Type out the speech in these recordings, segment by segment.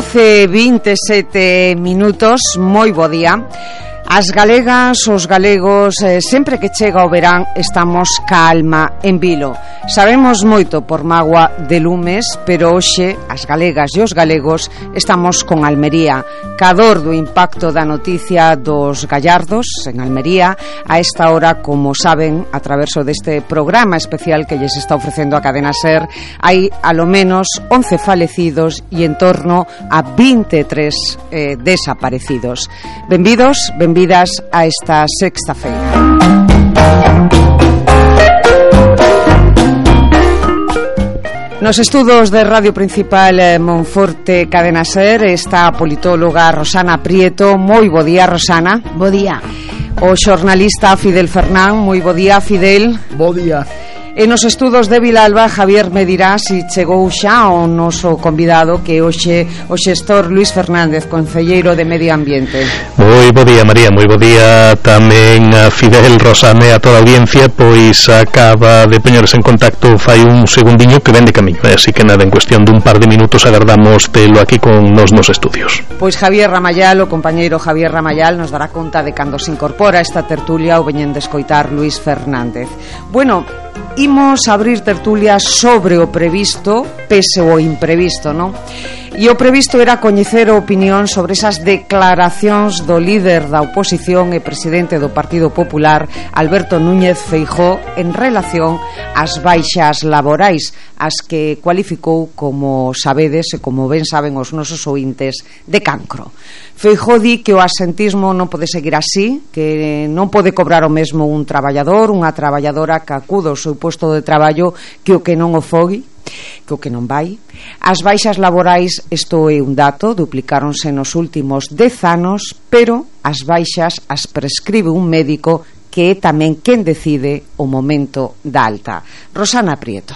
27 minutos, moi bo día. As galegas, os galegos, sempre que chega o verán estamos ca alma en vilo. Sabemos moito por mágoa de lumes, pero hoxe as galegas e os galegos estamos con Almería. Cador do impacto da noticia dos gallardos en Almería, a esta hora, como saben, a traverso deste programa especial que lles está ofrecendo a Cadena SER, hai alo menos 11 falecidos e en torno a 23 desaparecidos. Benvidos, benvidas a esta sexta feira. Nos estudos de Radio Principal Monforte Cadena SER está a politóloga Rosana Prieto. Moi bo día, Rosana. Bo día. O xornalista Fidel Fernán. Moi bo día, Fidel. Bo día. E nos estudos de Vilalba, Javier me dirá se chegou xa o noso convidado, que hoxe o xestor Luis Fernández, concelleiro de Medio Ambiente. Moi bo día, María, moi bo día tamén a Fidel, Rosane, a toda a audiencia, pois acaba de poñerse en contacto fai un segundiño que ven de camiño, así que nada, en cuestión dun par de minutos agardamos telo aquí con nos estudios. Pois Javier Ramayal, o compañeiro Javier Ramayal, nos dará conta de cando se incorpora esta tertulia ou veñen de escoitar Luis Fernández. Bueno, imos abrir tertulia sobre o previsto, pese o imprevisto, non? E o previsto era coñecer a opinión sobre esas declaracións do líder da oposición e presidente do Partido Popular, Alberto Núñez Feijóo, en relación ás baixas laborais, as que cualificou, como sabedes e como ben saben os nosos ointes, de cancro. Feijóo di que o asentismo non pode seguir así, que non pode cobrar o mesmo un traballador, unha traballadora que acuda ao seu posto de traballo, que o que non o fogui, que o que non vai. As baixas laborais, isto é un dato, duplicáronse nos últimos 10 anos, pero as baixas as prescribe un médico que é tamén quen decide o momento da alta. Rosana Prieto.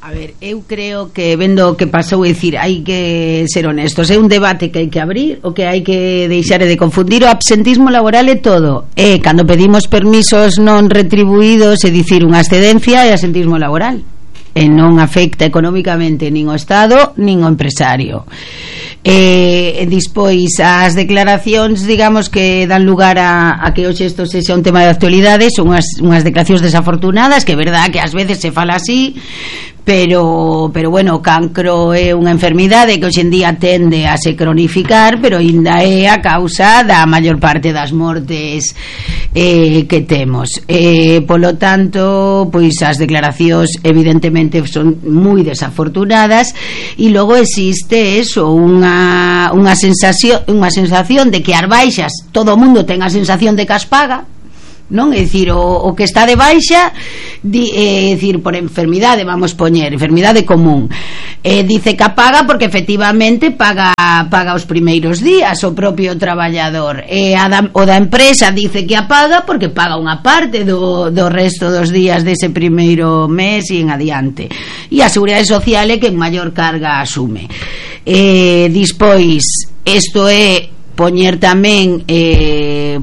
A ver, eu creo que vendo o que pasou, é dicir, hai que ser honestos, é un debate que hai que abrir, o que hai que deixar de confundir. O absentismo laboral é todo, é cando pedimos permisos non retribuídos, é dicir, unha excedencia, é absentismo laboral, e non afecta económicamente nin o Estado nin o empresario. Dispois as declaracións, digamos, que dan lugar a que hoxe isto sexa un tema de actualidade, son unhas declaracións desafortunadas, que é verdad que ás veces se fala así, pero bueno, o cancro é unha enfermidade que hoxe en día tende a se cronificar, pero ainda é a causa da maior parte das mortes que temos. Polo tanto, pois as declaracións evidentemente son moi desafortunadas, e logo existe eso, unha sensación de que as baixas, todo o mundo ten a sensación de que as paga, non? É dicir, o que está de baixa, é dicir, por enfermidade, vamos poñer, enfermidade común, dice que paga porque efectivamente paga os primeiros días o propio traballador, o da empresa dice que a paga porque paga unha parte do resto dos días dese primeiro mes e en adiante, e a Seguridade Social é que en maior carga asume. Dispois, isto é poñer tamén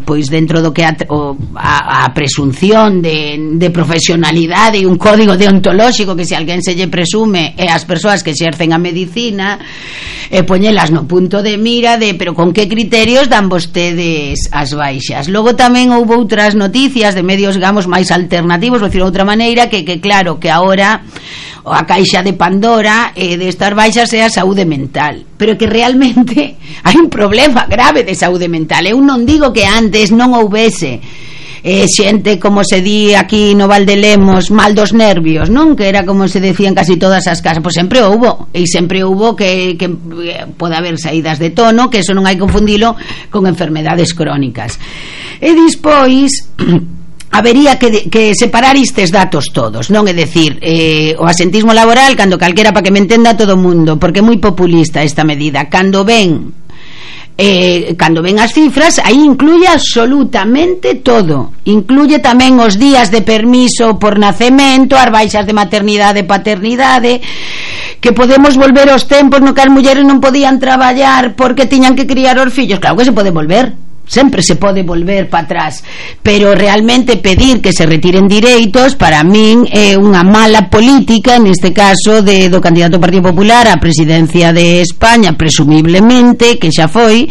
pois dentro do que a presunción de profesionalidade e un código deontolóxico que se alguén se lle presume e as persoas que exercen a medicina, poñelas no punto de mira de pero con que criterios dan vostedes as baixas. Logo tamén houve outras noticias de medios, digamos, máis alternativos, vou dicir de outra maneira, que claro, que agora a caixa de Pandora destas baixas é a saúde mental, pero que realmente hai un problema grave de saúde mental. Eu non digo que antes non houvese xente, como se di aquí no Val de Lemos, mal dos nervios, non? Que era como se decía en casi todas as casas. Pois sempre houbo, e sempre houbo que pode haber saídas de tono, que eso non hai que confundilo con enfermedades crónicas. E dispois habería que separar estes datos todos, non? É dicir, o asentismo laboral, cando calquera, para que me entenda todo o mundo, porque é moi populista esta medida, cando ven as cifras, aí incluye absolutamente todo, incluye tamén os días de permiso por nacemento, as baixas de maternidade e paternidade, que podemos volver aos tempos no que as mulleres non podían traballar porque tiñan que criar os fillos. Claro que se pode volver, sempre se pode volver para atrás, pero realmente pedir que se retiren direitos para min é unha mala política, neste caso do candidato do Partido Popular á presidencia de España, presumiblemente, que xa foi,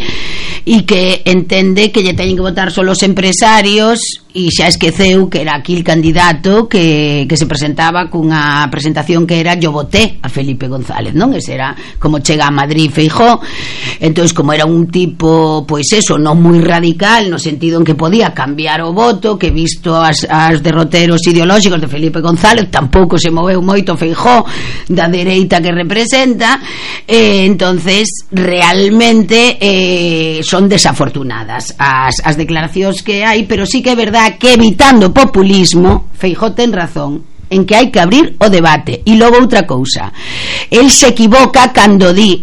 e que entende que lle teñen que votar só os empresarios, e xa esqueceu que era aquí el candidato que se presentaba cunha presentación que era yo voté a Felipe González, non? Ese era como chega a Madrid Feijóo. Entonces, como era un tipo, pois eso, non moi radical, no sentido en que podía cambiar o voto, que visto as derroteros ideolóxicos de Felipe González tampouco se moveu moito Feijóo da dereita que representa, entonces realmente son desafortunadas as declaracións que hai, pero sí que é verdade que evitando populismo, Feijóo ten razón en que hai que abrir o debate. E logo outra cousa, el se equivoca cando di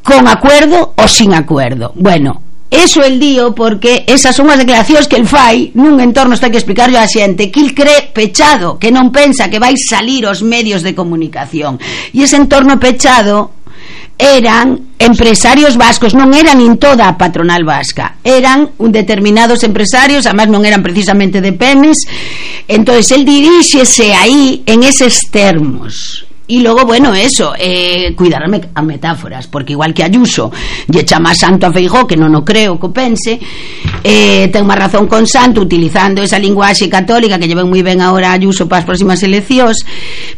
con acuerdo ou sin acuerdo. Bueno, eso el dío porque esas son as declaracións que el fai nun entorno, está que explicarlo a xente, que el cree pechado, que non pensa que vai salir os medios de comunicación, e ese entorno pechado eran empresarios vascos, non eran nin toda a patronal vasca, eran determinados empresarios, además non eran precisamente de Pemex. Entonces el diríxese aí en eses termos. E logo, bueno, eso, cuidar a metáforas, porque igual que Ayuso lle chama santo a Feijóo, que non o creo que o pense, ten má razón con santo utilizando esa linguaxe católica que lleven moi ben agora Ayuso para as próximas eleccións,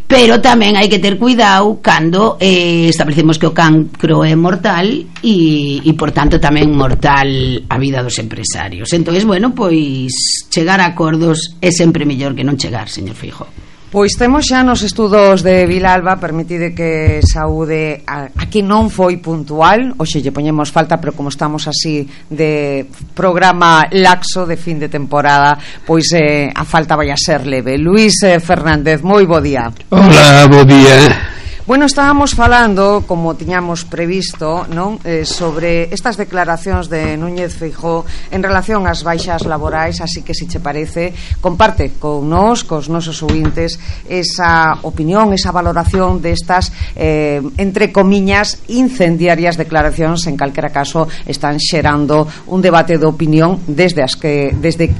pero tamén hai que ter cuidado cando establecemos que o cancro é mortal e por tanto tamén mortal a vida dos empresarios. Entonces, bueno, pois chegar a acordos é sempre mellor que non chegar, señor Feijóo. Pois temos xa nos estudos de Vilalba, permitide que saúde a que non foi puntual, hoxe lle poñemos falta, pero como estamos así de programa laxo de fin de temporada, pois a falta vai a ser leve. Luis Fernández, moi bo día. Hola, bo día. Bueno, estábamos falando, como tiñamos previsto, non? Sobre estas declaracións de Núñez Feijóo en relación ás baixas laborais, así que, se che parece, comparte con nós, cos nosos ouvintes, esa opinión, esa valoración destas, entre comiñas, incendiarias declaracións. En calquera caso, están xerando un debate de opinión desde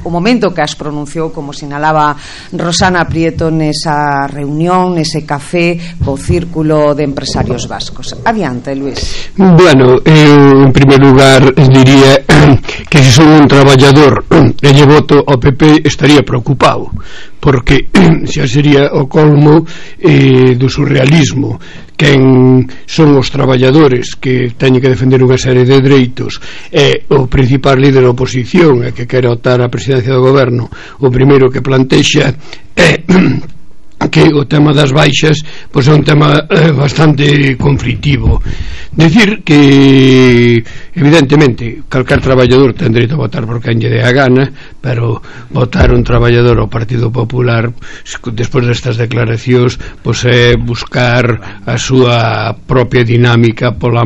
o momento que as pronunciou, como sinalaba Rosana Prieto nesa reunión, nese café co Círculo de Empresarios Vascos. Adiante, Luis. Bueno, eu en primer lugar diría que se son un traballador e lle voto ao PP estaría preocupado, porque xa sería o colmo do surrealismo. Quen son os traballadores que teñen que defender unha serie de dereitos e o principal líder da oposición e que quere optar a presidencia do goberno, o primeiro que plantexa é que o tema das baixas pois é un tema bastante conflitivo. Decir que evidentemente calquer traballador ten dereito a votar por quen lle dé a gana, pero votar un traballador ao Partido Popular despois destas declaracións pois é buscar a súa propia dinámica pola